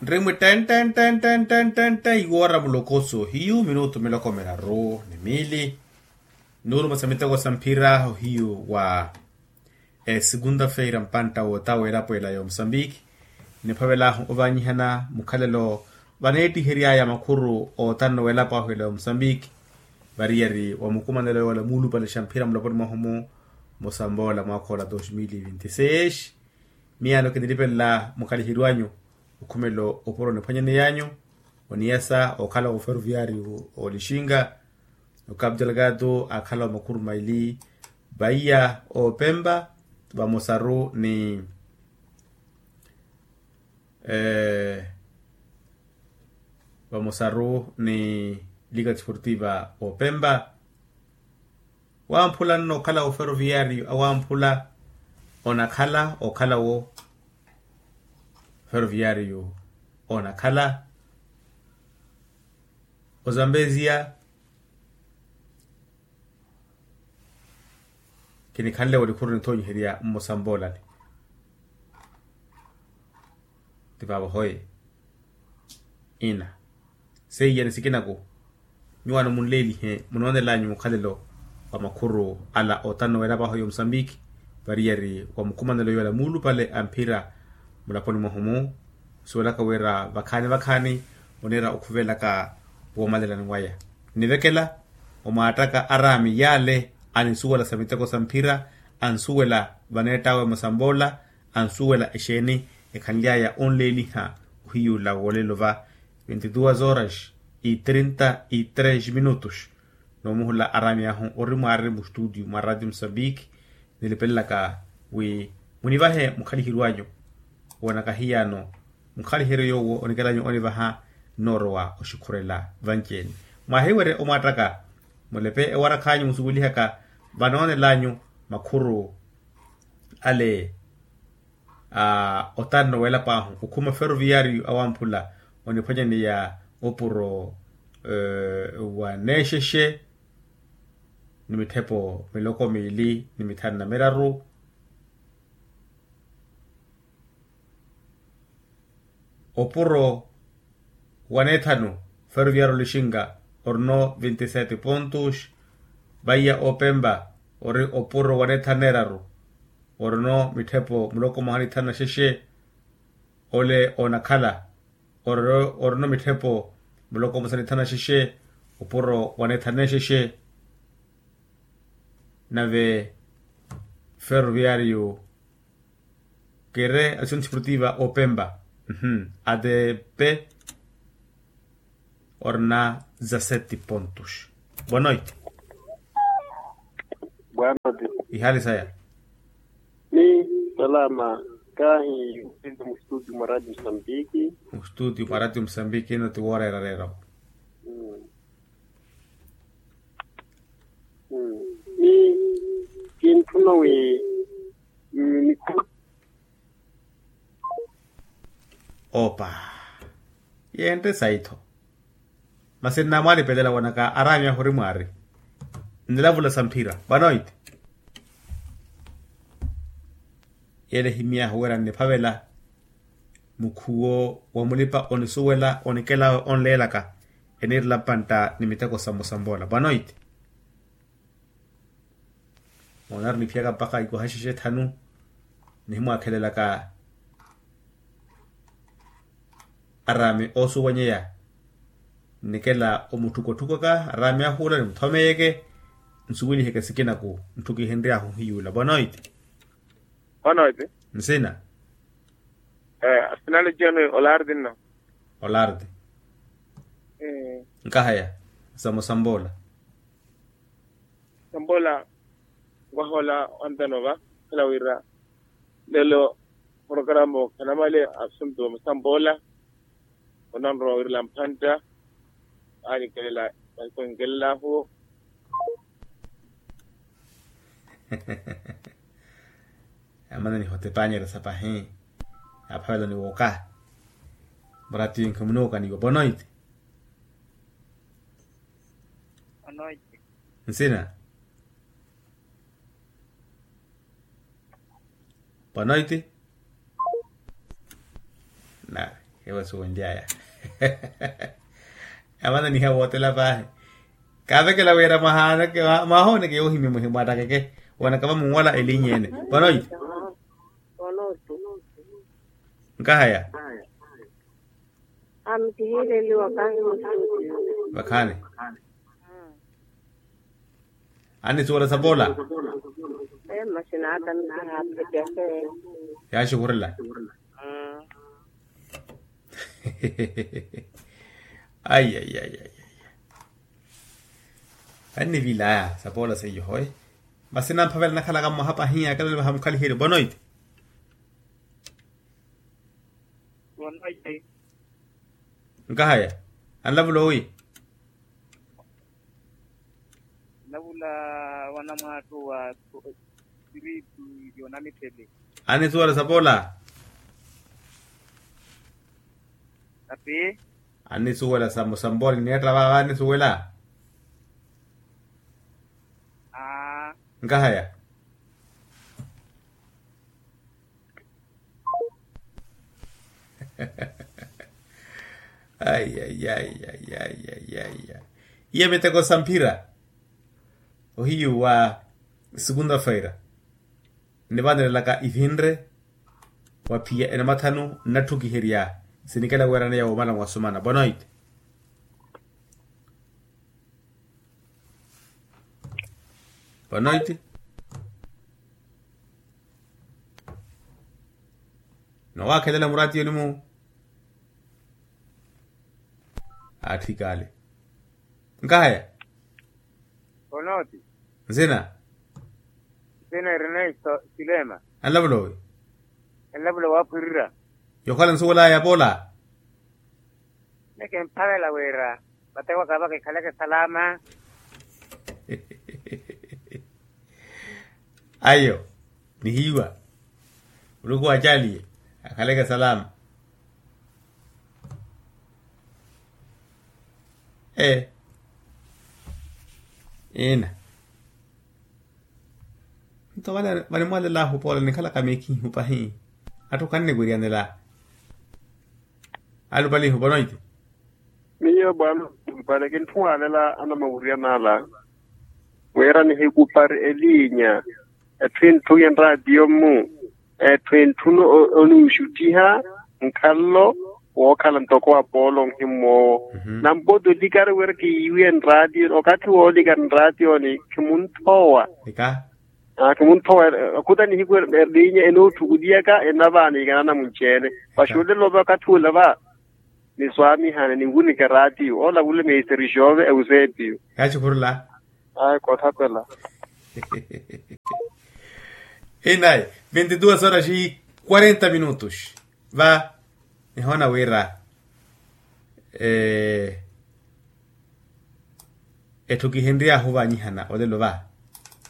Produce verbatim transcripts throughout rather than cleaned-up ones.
Ttimwi tten tten tten tten tten tten iwoora mulokoso hiyu minutu miloko miraru ni miili. Nuuluma sa miteko sa mphira ohiyu wa esikunda feira mpantta wootawa elapo ela ya omusambiki. Niphavelaahu ovaanyihana mukhalelo vaneettihery'aya makhuru oottanno w'elapo ahu ela ya omusambiki. Variyari wa mukumanelo yoola muulupale xa mphira mulaponi mwahu-mu musamboola mwaakha ola dos mil vinti seis. Miyaano kinilipelela mukhaliheryo anyu okhumela opuro niphwanyaney'anyu oniyasa okhala oferoviariyu olixinga. Okapu delgado akhala omakhuru maili vaiya opempa vamosaru ni vamosaru ni lika tifortiva opempa. Wamphula nno okhala oferoviariyu awamphula onakhala okhala wo. Feroviariyu onakhala ozambezia. Kinikhanle walikhuru nithoonyiherya mmusamboolani. Ti vaavo hoye ina seiya ni sikinaku. Nyuwaano munleelihe munoonelanyu mukhalelo wa makhuru ala otanno w'elapo ahu ya omusambiki. Variyari wa mukumanelo yoola muulupale a mphira mulaponi mwahu-mu nsuwelaka wira vakhaani vakhaani oniira okhuvelaka woomalelani waya. Nivekela omwaattaka araami yaale anisuwela sa miteko sa mphira ansuwela vaneett'awe musamboola ansuwela exeeni ekhanly'aya onleeliha ohiyuula woolelo va. Vinte duas horas e trinta e três minutos. Noomuhula araami ahu ori mwaari mustutio mwa ratio musambiki nilipelelaka wi munivahe mukhaliheryo anyu. Woonaka hiyaano mukhaliheryo yoowo onikel'anyu onivaha nnoorowa oxikhurela vanci-ene. Mwahiwerye omwaattaka mulepe ewarakha anyu musuwelihaka vanoonelanyu makhuru ale otanno w'elapo ahu okhuma feroviariyu awamphula oniphwanyaneya opuro wa neexexe ni mitthepo miloko miili ni mithanu na miraru. Opuro waneethanu feroviariyu olixinga orino vinte sete pontos. Vaiya opempa ori opuro waneethanu neeraru orino mitthepo muloko mwaha ni thanu na xexe. Ole onakhala orino mitthepo muloko mwaha ni thanu na xexe opuro waneethanu neexexe. Nave feroviariyu kere action sportiva opempa adp orina za sete pontos. Boa noite. Boa noite. Ihali saya? Ni salama. Kahi mustudio mwa radio msambiki. Mustudio mwa radio msambiki ino ti woora erarero. Ni kintthuna wi. Opa. Yentte sayi-tho. Masi nnamwalipelela wonaka araami ahu ori mwaari. Nnilavula sa mphira vanoiti. Yele ehimy'ahu wira nniphavela mukhuwo wa mulipa onisuwela onikelawe onleelaka eniirela mpantta ni miteko sa musamboola vanoiti. Moona ari niphiyaka mpakha ikwaha xexe thanu nihimwaakhelelaka araami oosuwanyeya. Nnikela omutthukotthukoka araami ahu ola nimuthomeyeke nsuweliheke sikinaku ntthukihenry'ahu hiyuula boa noiti. Boa noiti. Nsina. Asinale jeno olardi nno. Olardi. Nkahaya. Samusamboola. Sambola. Nkwaha ola wantano va khela wira lelo programa okhanamale asuntu wa masamboola. Onanrowa wirela mphantta. Anikelela. Anikelela ahuwo. Amana nihotepanyeresa pahi. Aphavela ni wooka. Muratiyo nkhimunuuka niwo bonoiti. Nsina. Boa noite. Na. Ewo suwenly'aya. Amananiha wootela paahi. Kaavekela wira mwahooneke yoohimya muhimwaattakeke. Wanakava munwala eliny'ene. Vanoiti? Nkahaya. Amkihiileliwa kahi musuuti. Vakhaani. Anisuwela sapoola. Masi naaka misihaaphetyase. Yaaxukhurela. Ai ai ai ai. Annivilaya sapoola seiyo hoye. Masi namphavela nakhalaka mwaha pahiya akala nivaha mukhaliheryo bonoiti. Nkahaya. Anlavula owi? Anlavula wanamwaattu wa siritu yonamithele. Anisuwela sapoola? Api? Anisuwela sampoola nineetta vaava anisuwela. Nkahaya. Ai ai ai. Iya miteko sa mphira ohiyu wa segunda-feira. Nnivanelelaka ivinre wa phiya enamathanu nnatthukiherya sinikela weeraneya womala mwasumana bonoiti. Bonoiti. Nowakhelela muraatiyoni-mu. Atthu ikale nkahaya. Bonoiti. Nsina. Nsina ernesto silema. Anlavula owi? Anlavula waphwirira. Yokhala nsuwelaya poola. Neke mphavela wira vatewaka vakikhaleke salama. Ayo nihiiwa. Muluku wacaaliye akhaleke salama. Ee. Ina. Nto vale vanimwalelahu poola nikhalaka miikhihu pahi. Atthu kannikwiryanela. Alupalihu bonoiti. Miyo bwana mpale kinthuwalela anamawuryanala wira nihikupari elinya. Etthu inthuye nraatiyo-mu. Etthu entthuno oniwuxuttiha nkhallo wookhala ntoko wa poolo onhimmw'owo. Nampooti olikari wira kiyiiwiye nraatiyo okathi woolikari nraatiyoni khimuntthowa. Khimuntthowa. Okhuta nihiku elinya enootthukutiyaka enavaaniikana namunci-ene. Paxuulelo va okathi ula va niswaamihane ninwunika eraatiyo olavule meisteri xove euseepiyo. Yaaxukhurela. Ayi koothapela. Inayi. Vinte duas horas e quarenta minutos. Va nihoona wira etthu kihenry'ahu ovanyihana olelo va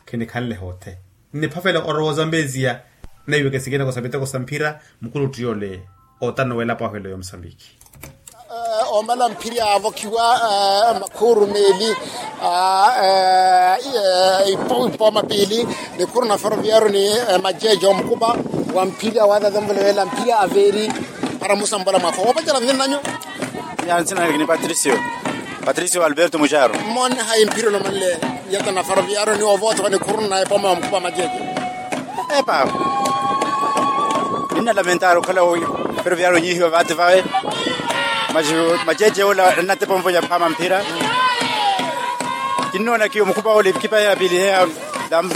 khinikhanle hoothe. Nniphafela orowa ozambeziya. Naiweke sikinako sa miteko sa mphira mukulutti yole otanowela pwahwelo ya omusambiki. Omala mphiri aavokhiwa makhuuru meeli. Ipooma piili nikhuru na ferroviario ni majeje omukupa wa mphiri awaathathemvela mphiri aveeri. Para musambola mwafa woopacela nzinanyu. Nzinanyu ni patricio. Patricio alberto muxaro. Mmoone hayi mphiri olomanle yata na ferroviario ni ovootha wa nikhuru na epooma wa mukupa majeje. Epa. Ninna lamentari okhala ferroviario onyihiwa vaati vawe. Majeje ola ennatepa onvonya phaama mphira. Kinnoona kiyo mukupa ole kipa ya pili heya.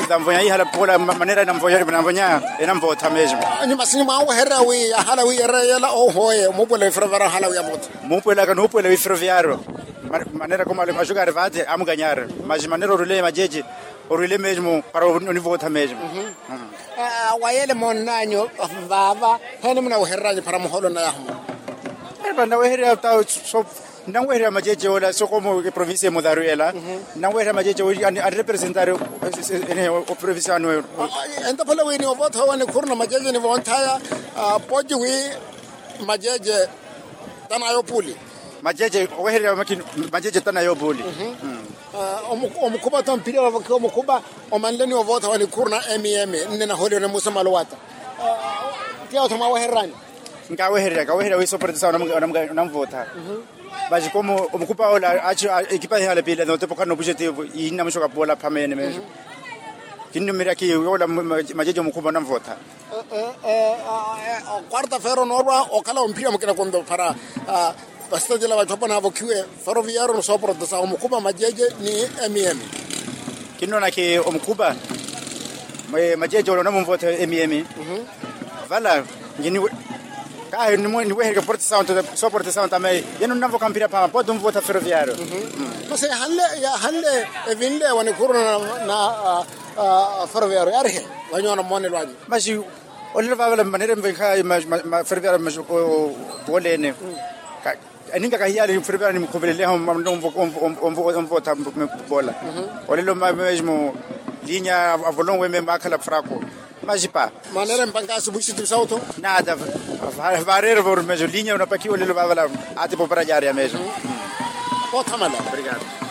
Tanvonya ihala pola manera enanvonya enanvootha mesmo. Nyuma sinyi mwaweherya wi ahala wi ereyela ohoye omupuwela wi ferroviario ahala wi amootha. Muupwelaka nuupwela wi ferroviario. Manera komale axukari vaati amukanyari. Mas manera orwile majeje orwile mesmo para onivootha mesmo. Wayele moonnanyu vaava heni munaweheryanyu para muhoolo nnayahu muno? Epa nnaweherya ta so. Nnanweherya majeje ola sokomo eprovincia emudharu ela. Nnanweherya majeje anrepresentari. Eprovincia anu. Entaphale wi ni ovootha wa nikhuru na majeje ni vonthaya. Poci wi majeje tanayo puli. Majeje oweherya makini. Majeje tanayo puli. Omukhupa tho mphiri avavokhiwa omukhupa. Omanle ni ovootha wa nikhuru na mem nne nahooliwa ni musamalo wata. Tiya otho mwawehererani. Nkawehererya kawehererya wi soportesa onamvootha. Masi komu omukhupa ola aci ekipa ihala pila notepa okhana opujetivu ihinna mwisho kapola phamene mesho. Kinnumirya ki ola majeje omukhupa onamvootha. Okwarta fero noorwa okhala omphira mukina konto phara. Vasitacela vatthu apo naavokhiwe foroviyaru ni soportesa omukhupa majeje ni mm. Kinnonaki omukhupa majeje ole onamumvootha mm. Vala kahi niwehereke porte sound soporte sound ame yeno nnamvoka mpira phama pote omvootha feroviario. Masi yahanle yahanle evinle wa nikhuruna na feroviario yarihe. Wanyoona mmoonelo anyu masi olelo vavala manere mvenkha feroviario masi wolene. Eninka kahiyali feroviario nimukhuveleleha omvootha mpola olelo mesmo linya avolonwe meme akhala fraco. Masi pa manera empanka asubuhi sitipi sauto nada. Varero vorumeso linya unapakiwa lelo vavala ati popara jari ya meso. Othamala. Obrigado.